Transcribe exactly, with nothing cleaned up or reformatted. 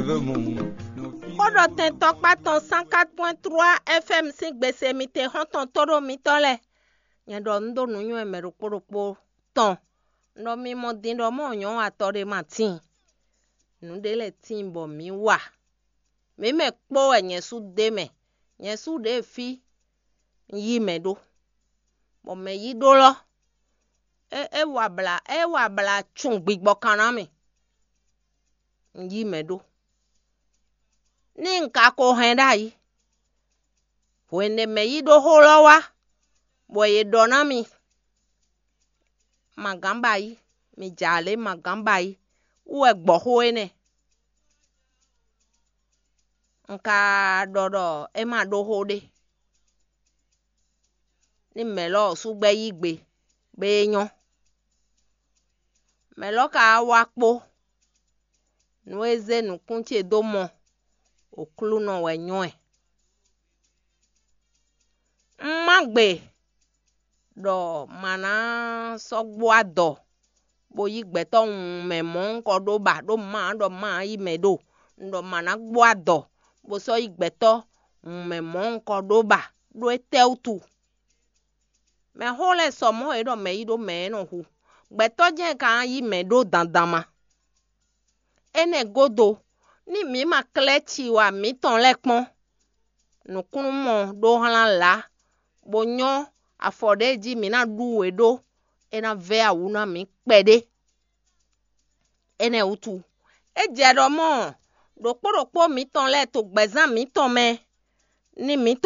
Xó ɖɔ tɛn tɔkpá tɔn cent quatre point trois F M sín gbese mitɛn xɔ́ntɔn tóɖó mitɔ́ lɛ́ɛ. Nyɛ ɖɔ nǔ ɖo nǔnywɛ́ mɛ ɖokpó ɖokpó tɔn. Un ɖɔ mi mɔ din ɖɔ mɔ̌ nyɔ̌ atɔ ɖé ma tíin. Nǔ ɖé lɛ́ɛ tíin bɔ mǐ wa. Mǐ mɛ kpó wɛ nyɛ sú ɖe mɛ. Nyɛ sú ɖě fí un yí mɛ ɖó. Bɔ mɛ yí ɖó lɔ́, é é wa blǎ é wa blǎ cun gbigbɔ kan ná mì. Un yí mɛ ɖó. Ní un ka ko hɛn ɖ'ayǐ, hwenu e mɛ yí ɖó xó lɔ́ wá, bɔ è ɖɔ ná mì: "Magǎn ba yí, mi jɛ alě magǎn ba yí" wú wɛ gbɔ xó énɛ́. Un ka ɖɔ ɖɔ é ma ɖó xó ɖé. Ní mɛ̌ lɔ́ ɔ́ sú gbɛ́ yí gbe, bɔ é nyɔ́. Mɛ̌ lɔ́ ka wá wá kpó, nú é zé nǔkún ce dó mɔ, Oklúnɔ wɛ nyɔ́ ɛ. Un má gbe ɖɔ ma ná sɔ́ gbó adɔ bó yí gbɛtɔ́ wunmɛ mɔ̌hunkɔ ɖó ba, ɖó má ɖɔ má yí mɛ ɖo. Un ɖɔ ma ná gbó adɔ bó sɔ́ yí gbɛtɔ́ wunmɛ mɔ̌hunkɔ ɖó ba, ɖó étɛ́ wútu? Mɛxó lɛ́ɛ sɔ mɔ̌ e ɖɔ mɛ yí ɖó mɛ é nɔ hu. Gbɛtɔ́ jɛ́n ka ná yí mɛ ɖó dandan ma. Énɛ́ gúdo, ní mǐ ma klɛ́ ciwa mǐtɔn lɛ́ɛ kpɔ́n, nǔkúnnú mɔ ɖó hlán lǎ, bó nyɔ́ afɔ ɖě jí mǐ ná ɖú we ɖó, é ná vɛ́ awǔ ná mǐ kpɛɖé. Énɛ́ wútu, é jɛ ɖɔ mɔ̌ ɖokpó ɖokpó mǐtɔn lɛ́ɛ to gbɛ̌zán mǐtɔn mɛ, ní mǐ to